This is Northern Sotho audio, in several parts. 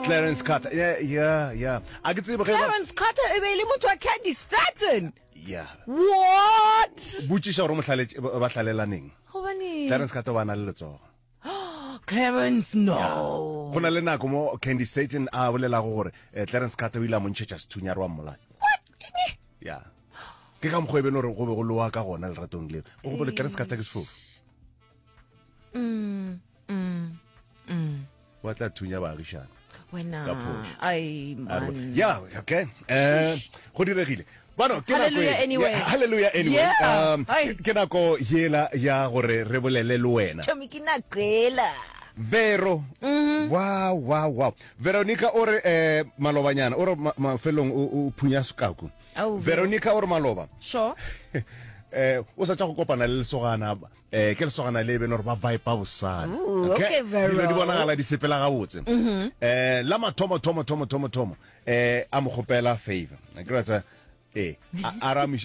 Clarence Carter. Yeah, yeah, yeah. A ke tsebe ge ba- Clarence Carter e be e le motho wa Candy Staton. Yeah. What? Botšiša gore o mo hlaletše ba ba hlalelaneng. Gobaneng? Clarence Carter o ba na le letsogo. Clarence, no. Go na le nako mo Candy Staton a bolelago gore eh, Clarence Carter o ile a mo ntšhetša sethunya a re wa mmolaya. What? Eng? Yeah. Ke ka mokgwa e beno gore go be go lowa ka gona leratong leo. O gopole Clarence Carter ke sefofu. Mm, mm, mm. Wa tla thunya baagišane. Wena. Ka phošo. Ai, A re- man. Yeah, okay. Eh, go diregile. Bano, ke nako Hallelujah e- anyway. Yeah, hallelujah anyway. Yeah. Um, Ai. ke nako yela ya gore re bolele le wena. Chomi ke nako ela. Vero. Mm-hmm. Wow, wow, wow. Veronica o re eh malobanyana, o re ma- mafelong o o phunya sekaku. Oh, Vero. Veronica o re maloba. Sure. Eh o sa tša go kopana le lesogana eh ke lesogana le beno gore ba vibe bosana. Ooh, okay, Vero. Dilo di bonagala di sepela gabotse. Mm-hmm. Eh la mathomo thomo thomo thomo thomo eh a mo kgopela favor. Ke ra tsa eh a a ra mo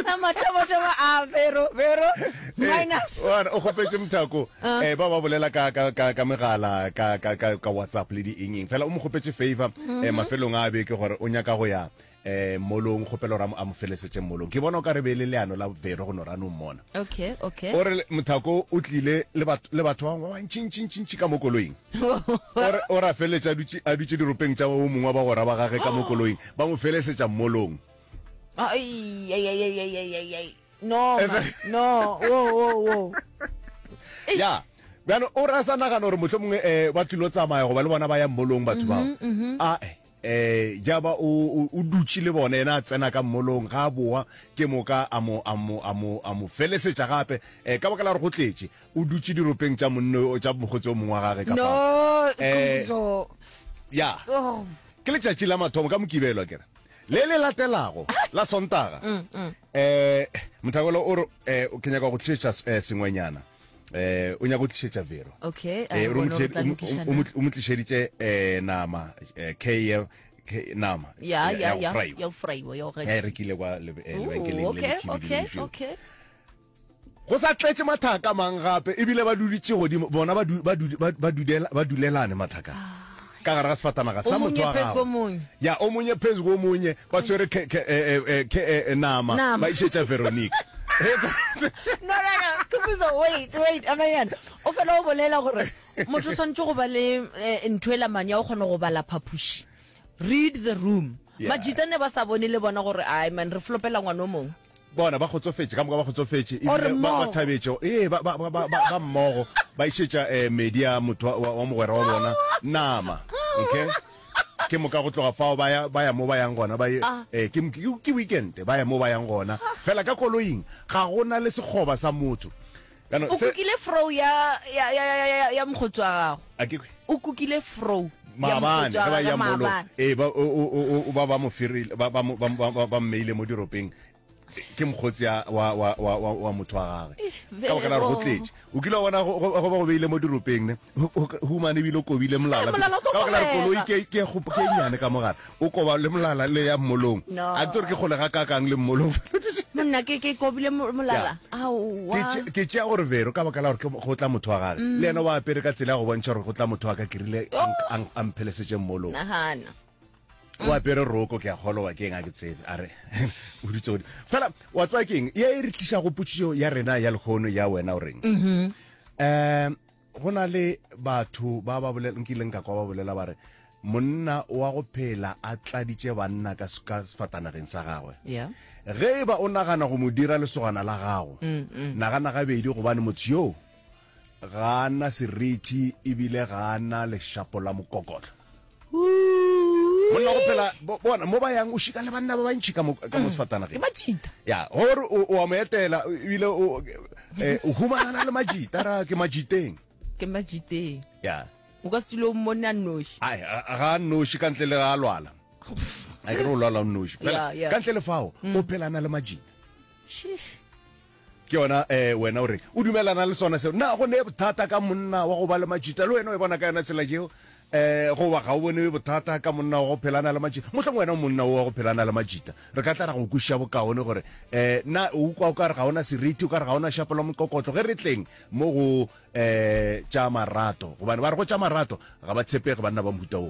La mathomo thomo a Vero, Vero minus. Eh, wa- o kgopetše mothako eh ba ba bolela ka ka ka ka megala ka ka ka ka WhatsApp le di eng eng fela o mo kgopetše favor eh mafelong a beke gore o nyaka go ya eh molong kgopelo gore a mo- a mo felesetše molong ke bona o ka re be e le leano la Vero go no ra no mmona Okay, okay. o re mothako o tlile le batho le batho ba bangwe ba bantšintšintšintši ka mo koloing o re o re a feleletša a dutše a dutše diropeng tša o mongwe wa bagwera ba gage ka mo koloing ba mo felesetša mmolong Ai, ai, ai, ai, ai, ai, ai, ai. No, man. No, wo, wo, wo. Eish. ya bjano o re a sa nagana gore motlho mongwe um ba tlilo tsamaya goba le bona ba ya mmolong batho bao a eh ja ba o o dutše le bona yena a tsena ka mmolong ga a boa ke moka a mo a mo a mo a mo felesetša gape eh ka baka la gore go tletše o dutše diropeng tša monno tša mokgotsi o mongwe wa gage ka No, fao eh Skhumbuzo. ya Oh. ke letšatši la mathomo ka mokibelo akere le le latelago la sontaga eh mothakolo o re eh ke nyaka go tlišetša eh, sengwenyana eh o nyaka go tlišetša vero Okay, a eh re o bone mo gore tla tliše- o mo- lokišana. o mo- o mo tlišeditše eh nama eh K K nama Ya, ya, go ya. fraiwa. Ya go fraiwa, ya go Ya e gesa. rekile kwa lebe- eh, Ooh, lebenkeleng le okay, lekhibidu le okay, lešweu. okay. Go sa tletše mathaka mang gape ebile ba duditše godimo bona ba du, ba du, ba, ba dudela, ba dulelane mathaka ka gare ga sefatanaga O sa motho monnye wa phezu gagwe. komunye. Ya o monye phezu komunye ba tshwere ke, ke, eh, eh, ke, eh, nama, Nama. ba išetša Veronica. No, no, no. Khumbudzo, wait, wait, amanyana. O fela o bolela gore motho o swanetše go ba le eh, ntho e lamane ya go kgona go bala phapoši. Read the room. Yeah. Majita ne ba sa bone le bona gore ai man re flopela ngwana o mongwe. Bona ba kgotsofetše, ka moka ba kgotsofetše, Or ebile ba, ba mmogo. thabetše. Ee, ba, ba, ba, ba, ba, ba mmogo ba išetša eh, medi ya motho wa, wa, wa mogwera wa bona nama. Okay? Ke moka go tloga fao ba ya, ba ya mo ba yang gona, ba ye, Ah. eh, ke, ke, ke weekend, ba ya mo ba yang gona. Fela ka koloing ga go na le sekgoba sa motho. Bjano, O se, kukile fro ya ya ya ya ya, ya mokgotsi wa gago. a ke kwe. O kukile fro ya Maabane mokgotsi wa ge ba gagwe ya molo, maabane. ee, ba, o, o, o, o, ba, ba mo ferile, ba, ba, mo- ba, ba, ba, ba mmeile mo diropeng. Ke mokgotsi a, wa, wa, wa, wa, wa motho wa gagwe. Eish, Ka baka la gore go Vero. tletše. O kile wa bona go, go, go ba go beile mo diropeng, ne? Ho- ho- Humane ebile o kobile molala. Eh, molala o tlo Ka baka la gore koloi kobega. ke, ke, ke e nnyane ka mogare. O koba le molala le ya mmolong. No. A ke tsebe gore ke kgole gakaakang le mmolong. Monna ke ke kobile mo- molala. Ya. Aowa. Ke tše- ke tšea gore Vero ka baka la gore ke go tla motho wa gage. Le yena o apere ka tsela ya go bontšha gore go tla motho wa ka ke rile a nk- a nk- a mphelesetše mmolong. Nagana. O apere roko ke a kgolwa ke eng a ke tsebe a re o dutse godimo. Fela wa tseba ke eng ye e re tlišago potšišo ya rena ya lehono ya wena o reng? Um go na le batho ba ba bolela nkileng ka kwa ba bolela ba re monna wa go phela a tladitše banna ka ka sefatanageng sa gagwe. Yeah. Ge e ba o nagana go mo dira lesogana la gago, nagana gabedi gobane motho yoo ga a na seriti ebile ga a na lešapo la mokokotlo. Monna go phela bona mo ba yang o šika le banna ba bantši ka mo ka mo sefatanageng. Ke majita. Ya, gore o o a mo etela ebile o eh, o humanana le majita ra ke majiteng. Ke majiteng. Ya. O ka se dule o mmone a nnoši. Ai, ga a nnoši ka ntle le ga a lwala. A ke re o lwala o nnoši. Fela ka ntle le fao o phela a na le majita. Sheesh. Ke yona eh, wena o reng? O dumelana le sona seo? Na go ne bothata ka monna wa go ba le majita? Le wena o e bona ka yona tsela yeo? Eh, goba ga o bone bothata ka monna wa go phela a na le majita? Mohlomongwe wena o monna wo wa go phela a na le majita. Re ka tla ra go kwešiša bokaone gore eh, na o kwa o ka re ga o na seriti, o ka re ga o na šapo la mokokotlo ge re tleng mo go eh, tša marato. Gobane ba re go tša marato ga ba tshepege banna ba mohuta wo.